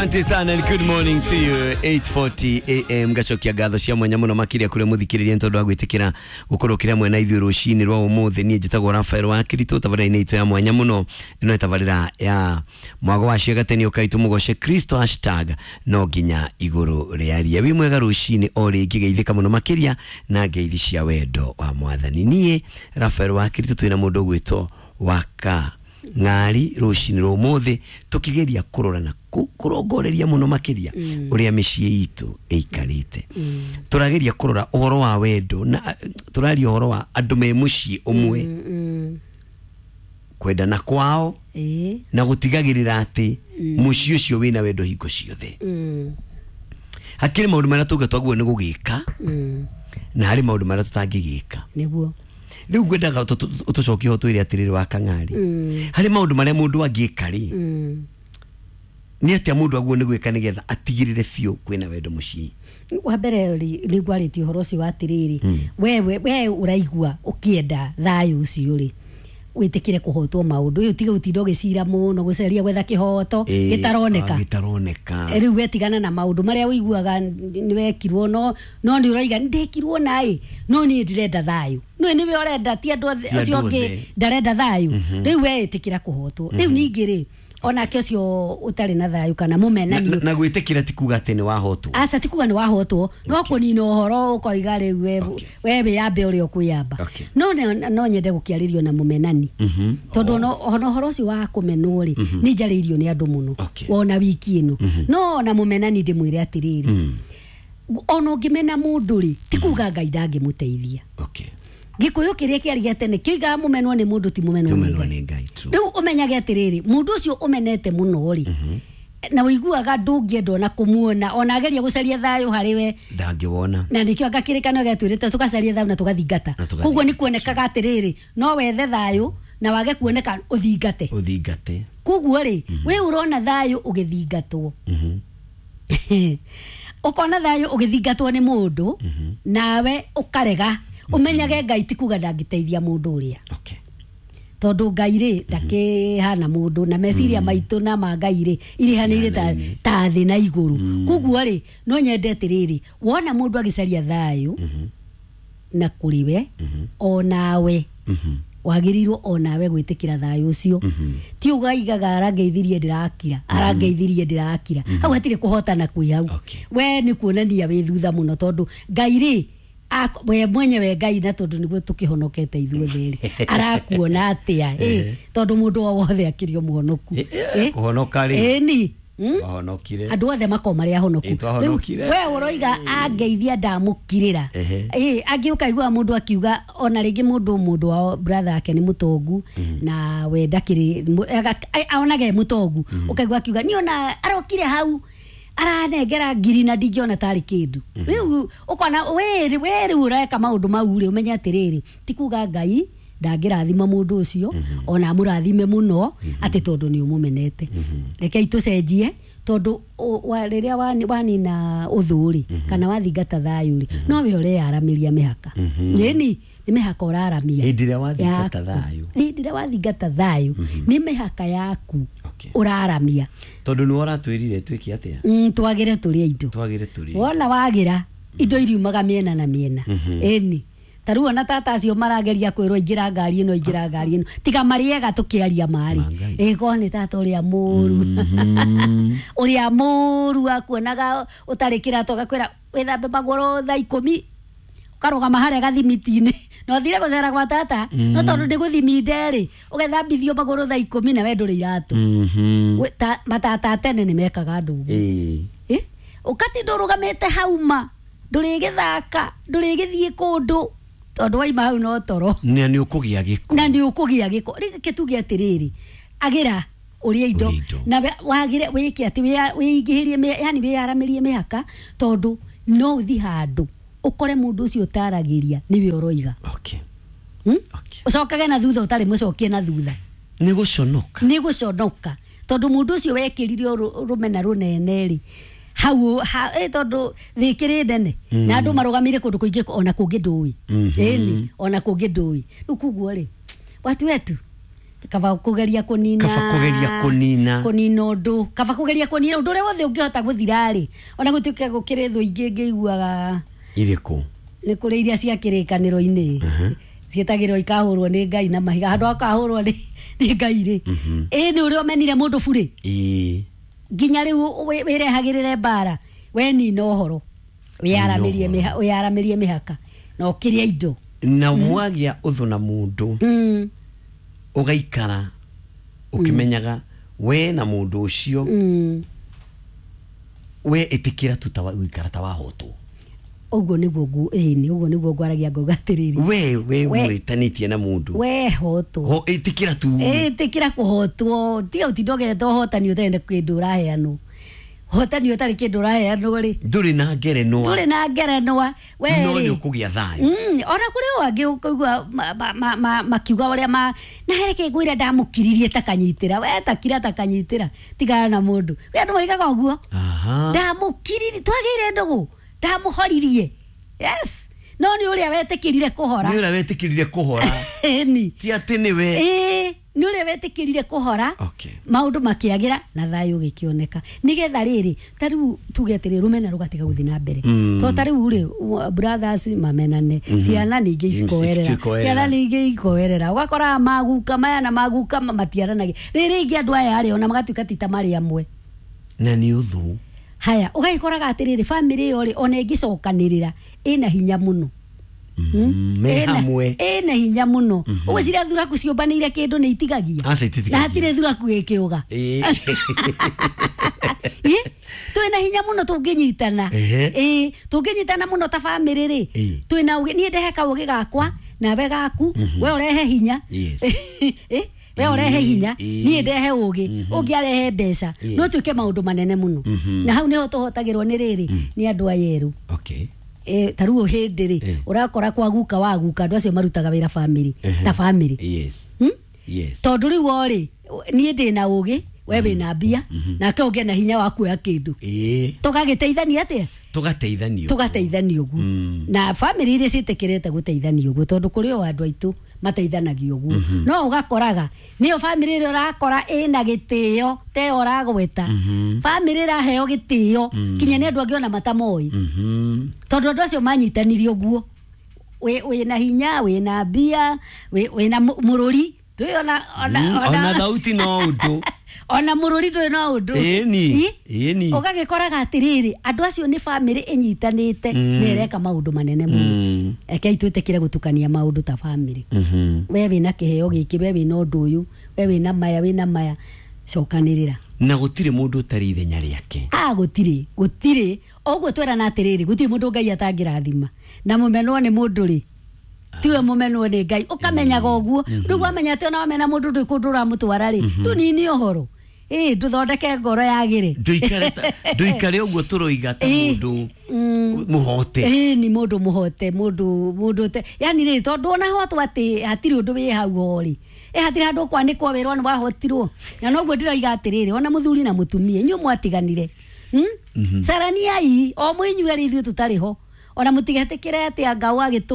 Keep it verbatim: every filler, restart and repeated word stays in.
Asante sana and good morning to you. eight forty A M ngacokia ngatho cia mwanya muno makiria kuri muthikiriria tondu wa gwitikira gukorwo kira mwena ithuĩ rũcinĩ rwa ũmũthĩ. Niĩ njĩtagwo Rafael wa Kirito, tabarĩra-inĩ itũ ya mwanya mũno ĩno tabarĩra ya mwago wa ciagateni ũkaitũ mũgoce Kristo hashtag no nginya igũrũ rĩaria. Wĩ mwega rũcinĩ o rĩngĩ, geithĩka mũno makĩria na ngeithi cia wendo wa mwathani. Niĩ Rafael wa Kirito twĩna mũndũ ũgwĩtwo Waka Ng'ari rũcinĩ rwa ũmũthĩ tukigeria kurora na kurongoreria muno makiria uria mĩciĩ itũ ĩikarĩte. Tũrageria kũrora ũhoro wa wendo na tũraria ũhoro wa andũ me mũciĩ ũmwe kwendana kwao na gũtigagĩrĩra atĩ mũciĩ ũcio wĩna wendo hingo ciothe. Hakĩrĩ maũndũ marĩa tuge twaguo nĩ gũgĩka na harĩ maũndũ marĩa tũtangĩgĩka. Nĩguo rĩu ngwendaga ũtũcokie ho twĩre atĩrĩrĩ wa Kang'ari, harĩ maũndũ marĩa mũndũ angĩka rĩ, nĩ atĩa mũndũ aguo nĩ gwĩka nĩgetha atigĩrĩre biũ kwĩna wendo mũciĩ? Wa mbere rĩ, ngwarĩtie ũhoro ũcio wa atĩrĩrĩ, wewe we ũraigua ũkĩenda thayũ ũcio rĩ, wĩtĩkĩre kũhotwo maũndũ. Ũyũ tiga ũtinda ũgĩcira mũno gũcaria gwetha kĩhoto gĩtaroneka. Gĩtaroneka. Rĩu wetigana na maũndũ marĩa ũiguaga nĩ wekirwo, no no nĩ ũroiga ndekirwo naĩ, no niĩ ndĩrenda thayũ. No nĩwe ũrenda, ti andũ acio angĩ ndarenda thayũ. Rĩu we ĩtĩkĩra kũhotwo. Rĩu ningĩ rĩ, onake ũcio ũtarĩ na thayũ kana mũmenani na gwĩtĩkĩra ti kuga atĩ nĩ wahotwo. Aca ti kuga nĩ wahotwo, no kũnina ũhoro ũkoiga rĩu we we wĩyambe ũrĩa ũkwĩyamba. No no nyende gũkĩarĩrio na mũmenani, tondũ ona ũhoro ũcio wa kũmenwo rĩ, nĩ njarĩirio nĩ andũ mũno wona wiki ĩno. No ona mũmenani ndĩmwĩre atĩrĩrĩ, ona ũngĩmena mũndũ rĩ, ti kuga Ngai ndangĩmũteithia. Gĩkũyũ kĩrĩa kĩarigia tene kĩigaga mũmenwo nĩ mũndũ ti mũmenwo nĩ Ngai. Rĩu ũmenyage atĩrĩrĩ, mũndũ ũcio ũmenete mũno rĩ, na ũiguaga ndũngĩenda ona kũmuona, ona ageria gũcaria thayũ harĩ we ndangĩwona. Na nĩkĩo anga kĩrĩkanĩro gĩatwĩrĩte tũgacaria thayũ na tũgathingata. Koguo nĩ kuonekaga atĩrĩrĩ, no wethe thayũ na wage kuoneka ũthingate. Ũthingate. Koguo rĩ, we ũrona thayũ ũgĩthingatwo, ũkona thayũ ũgĩthingatwo nĩ mũndũ, nawe ũkarega. Umenyage Ngai ti kuga ndangĩteithia mũndũ ũrĩa. Tondũ Ngai rĩ ndakĩhana mũndũ, na meciria maitũ na ma Ngai rĩ irihanĩire ta ta thĩ na igũrũ. Koguo rĩ, no nyende atĩrĩrĩ, wona mũndũ agĩcaria thayũ na kũrĩ we, onawe wagĩrĩirwo onawe gwĩtĩkĩra thayũ ũcio. Ti ũgaigaga arangeithirie ndĩrakira, arangeithirie ndĩrakira. Hau hatirĩ kũhotana kwĩ hau. We nĩ kuonania wĩ thutha mũno, tondũ Ngai rĩ we mwenyewe Ngai na tondu niguo tukihonokete ithuothe rĩ, arakuona atia? Eh, tondu mundu o wothe akĩrĩ o mũhonoku. Eh, kũhonoka rĩ, ĩni wahonokire, andũ othe makorwo marĩ ahonoku. Rĩu we ũroiga angeithia ndamũkirĩra, ĩ angĩ ũkaigua mũndũ akiuga ona rĩngĩ mũndũ mũndũ wao brother yake nĩ mũtongu na we ndakĩrĩ onage e mũtongu, ũkaigua akiuga niĩ ona arokire hau aranengera ngiri na ndingĩona tarĩ kĩndũ. Rĩu ũkona we we rĩu ũreka maũndũ mau rĩ, ũmenye atĩrĩrĩ, ti kuga Ngai ndangĩrathima mũndũ ũcio, ona amũrathime mũno atĩ tondũ nĩ ũmũmenete. Rekei tũcenjie, tondũ rĩrĩa wanina ũthũ rĩ, kana wathingata thayũ rĩ, no we ũreyaramĩria mĩhaka. Ĩni nĩ mĩhaka ũraramia. Hĩndĩ ĩrĩa wathingata thayũ, hĩndĩ ĩrĩa wathingata thayũ nĩ mĩhaka yaku ũraramia. Tondũ nĩ ũratwĩrire twĩke atĩa? Twagĩre tũrĩe indo. Twagĩre tũrĩe. Wona wagĩra indo iriumaga mĩena na mĩena. Ĩni ta rĩu ona tata acio marageria kwĩrwo ingĩra ngari ĩno, ingĩra ngari ĩno, tiga marĩega tũkĩaria marĩ. Ĩ korwo nĩ tata ũrĩa mũru, ũrĩa mũru akuonaga ũtarĩ kĩratũ agakwĩra wĩthambe magũrũ thaa ikũmi, ũkarũgama harĩa gathimiti-inĩ, na ũthire gũcera gwa tata, no tondũ ndĩ gũthiminde rĩ, ũgethambithio magũrũ thaa ikũmi na we ndũrĩ iratũ. Matata tene nĩ mekaga andũ ũguo. Ũkatinda ũrũgamĩte hau ma, ndũrĩgĩthaka, ndũrĩgĩthiĩ kũndũ, tondũ waima hau no toro. Na nĩ ũkũgĩa gĩko. Na nĩ ũkũgĩa gĩko. Reke tuge atĩrĩrĩ, agĩra ũrĩe indo na wagĩre wĩke atĩ wĩingĩhĩrie, yani wĩyaramĩrie mĩhaka, tondũ no ũthiĩ handũ ũkore mũndũ ũcio ũtaragĩria nĩwe ũroiga. Ũcokage na thutha ũtarĩ mũcokie na thutha. Nĩ gũconoka. Nĩ gũconoka, tondũ mũndũ ũcio wekĩrire rũmena rũnene rĩ, hau tondu thikiri nene na andu marugamire kundu kuingi ona kungi ndui ĩni ona kungi ndui riu kuguo ri watu wetu Kaba kugeria kunina. Kaba kugeria kunina. Kunina undu. Kaba kugeria kunina undu uria wothe ungihota guthira-ri. Ona gutuike gukiri thu ingi ngiguaga iriku. Ni kuri iria cia kirikaniro-ini. Cietagirwo ikahurwo ni Ngai na mahiga handu akahurwo ni ni Ngai ri. Ĩ ni uria umenire mundu buri. Ĩ nginya riu wirehagirire mbara we nina uhoro wiyaramirie miha wiyaramirie mihaka na ukirie indo na mwagia uthu na mundu mm. ugaikara ukimenyaga we na mundu ucio mm. we itikira tu ta guikara ta wahotwo uguo niguo ngu ĩni uguo niguo ngwaragia ngauga atiriri we we mwitanitie na mundu we hotwo ho itikira tu itikira kuhotwo tiga utinda ũgerete ũhotani ũtarĩ na kĩndũ ũraheanwo hotani ũtarĩ kĩndũ ũraheanwo rĩ ndũrĩ na ngerenwa ndũrĩ na ngerenwa we no rĩ nĩ ũkũgĩa thayũ mm ona kũrĩ o angĩ ũkaigua makiuga ũrĩa ma na hereke ngwĩra ndamũkiririe takanyitĩra we takira takanyitĩra tigana na mũndũ we andũ moigaga ũguo aha ndamũkiririe twagĩire ndũgũ ndamuhoririe yes no ni uria wetikirire kuhora ni uria wetikirire kuhora ni ti ati ni we eh ni uria wetikirire kuhora okay maundu makiagira na thayo gikioneka nigetha riri ta riu tuge atiri rumena rugatiga guthi na mbere to ta riu ri brothers mamenane ciana ningi ikoerera ciana ningi ikoerera ugakora maguka maya na maguka matiaranagia riri ingi andu aya ari ona magatuika ti ta mari amwe na ni uthu haya ugagikoraga atiriri family yo ri ona ingicokanirira ina hinya muno me hamwe ina hinya muno ugwiciria thuraku ciumbanire kindu ni itigagia na hatire thuraku ikiuga twina hinya muno tunginyitana eh tunginyitana muno ta family ri twina ugi nie ndehe kaugi gakwa nawe gaku we urehe hinya eh we urehe hinya nie ndehe ugi ungi arehe mbeca no tuike maundu manene muno na hau niho tuhotagirwo ni riri ni andu ayeru okay eh taruo hindi ri urakora kwa guka wa guka andu acio marutaga wira family ta family yes yes tondu riu ori nie ndina ugi we wina mbia nake unge na hinya wa kuoya kindu eh tugagiteithania atia tugateithania tugateithania uguo na family iria citikirite guteithania uguo tondu kuri o andu aitu mateithanagia uguo no ugakoraga niyo family ĩrĩa ũrakora ĩna gĩtĩo te ũragweta family ĩraheo gĩtĩo kinya nĩ andũ angĩ ona matamoi tondu andũ acio manyitanirie ũguo wĩna hinya wĩna mbia wĩna mũrũri twĩ ona ona ona thauti no ũndũ ona mũrũri ndũrĩ no ũndũ ĩni ĩni ũgagĩkoraga atĩrĩrĩ andũ acio nĩ family ĩnyitanĩte na ĩreka maũndũ manene mũno rekei twĩtĩkĩre gũtukania maũndũ ta family we wĩna kĩheo gĩkĩ we wĩna ũndũ ũyũ we wĩna maya wĩna maya cokanĩrĩra na gũtirĩ mũndũ ũtarĩ ithenya rĩake a gũtirĩ gũtirĩ ũguo twerana atĩrĩrĩ gũtirĩ mũndũ Ngai atangĩrathima na mũmenwo nĩ mũndũ rĩ tiwe mũmenwo nĩ Ngai ũkamenyaga ũguo rĩu wamenya atĩ ona wamena mũndũ ndwĩ kũndũ ũramũtwara rĩ tũnini ũhoro ĩ ndũthondeke ngoro yagĩre ndũikare ndũikare ũguo tũroiga ta mũndũ mũhote ĩ ni mũndũ mũhote mũndũ mũndũ te yani rĩ tondũ ona hotwo atĩ hatirĩ ũndũ wĩ hau ho rĩ ĩ hatirĩ handũ kwanĩkwo wĩrwo nĩ wahotirwo na noguo ndĩroiga atĩrĩrĩ ona mũthuri na mũtumia inyuĩ mwatiganire caraniai o mwĩ inyuĩ arĩ ithuĩ tũtarĩ ho ona mũtigetĩkĩre atĩ anga wagĩtũ